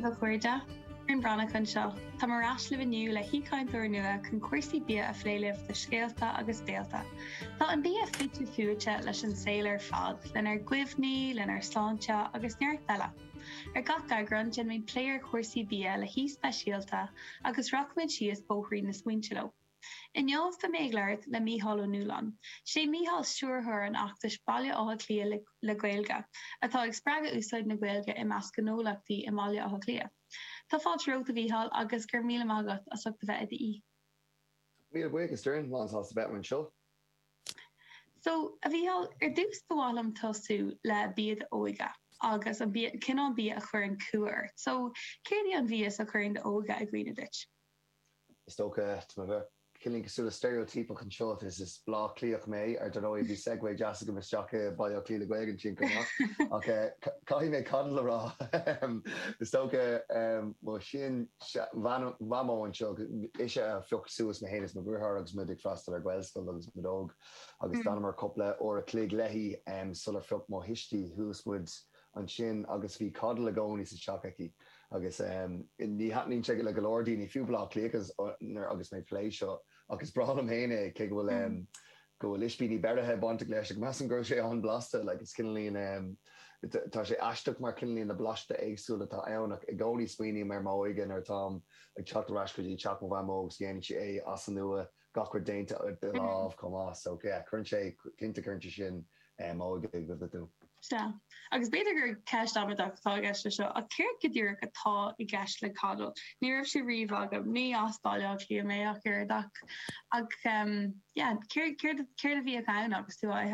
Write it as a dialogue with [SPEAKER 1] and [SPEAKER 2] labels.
[SPEAKER 1] daoibh a chairde. Doireann Breathnach anseo. Táim ar ais libh inniu le haoichainteoir nua chun cúrsaí bia a phlé libh do Scéalta agus Béalta. Tá an bia fite fuaite leis an saol ar fad, lenár gcuimhní, lenár sláinte agus neart eile. Ar gach eagrán, déanaimid plé ar chúrsaí bia le haoi speisialta agus rachaimid síos bóithrín na smaointe leo. Inniu beidh mé ag labhairt le Mícheál Ó Nualláin. Sé Mícheál stiúrthóir an fheachtais Baile Átha Cliath le Gaeilge, atá ag spreagadh úsáid na Gaeilge i measc gnólachtaí i mBaile Átha Cliath. Tá fáilte romhat a Mhícheáil agus go raibh míle maith agat as ucht a bheith i
[SPEAKER 2] d'aoi. Míle buíochas Doireann, lán sásta bheith anseo.
[SPEAKER 1] So, a Mhícheáil, ar dtús ba mhaith liom tosú le bia d'óige agus an bia, cineál bia a chuireann cumha ort. So, céard í an mhias a chuireann d'óige i gcuimhne duit?
[SPEAKER 2] Is dócha, tá mé bheith cineáilín cosúil le steiréitíopach anseo, is is Bleá Cliathach mé, ar ndóigh bhí segue deas agam isteach i Baile Átha Cliath le Gaeilge ansin chomh maith, ach caithfidh mé coddle a rá. Is dócha mo shin-mhamó anseo, ise a phioc suas mé féin is mo dheartháir agus muid ag freastal ar Ghaelscoil agus muid óg, agus d'fhanamar cúpla uair a chloig léi sular phioc mo thuistí suas muid ansin agus bhí coddle i gcónaí sa teach aici agus ní thaitníonn sé le go leor daoine, fiú Bleá Cliathaigh nuair agus mé ag plé seo ach is breá liom féin é cé go bhfuil go bhfuil ispíní beirithe bainteach leis ach measaim go raibh sé an-blasta like is cineáilín tá sé aisteach mar cineáilín na blasta éagsúla atá ann ach i gcónaí smaoiním ar m'óige nuair atáim ag teacht ar ais go dtí teach mo mhamó agus dhéanann sí é as an nua gach rud déanta de lámh chomh maith. So yeah, cuireann sé, cinnte cuireann sé sin m'óige i gcuimhne
[SPEAKER 1] dom. Sea. Agus b'fhéidir gur ceist amaideach atá i gceist leis seo, ach céard go díreach atá i gceist le coddle? Ní raibh sé riamh agam, ní as Baile Átha Cliath mé ach oiread ach, ach yeah, céard, céard, céard a bhíodh ann agus tú á ithe?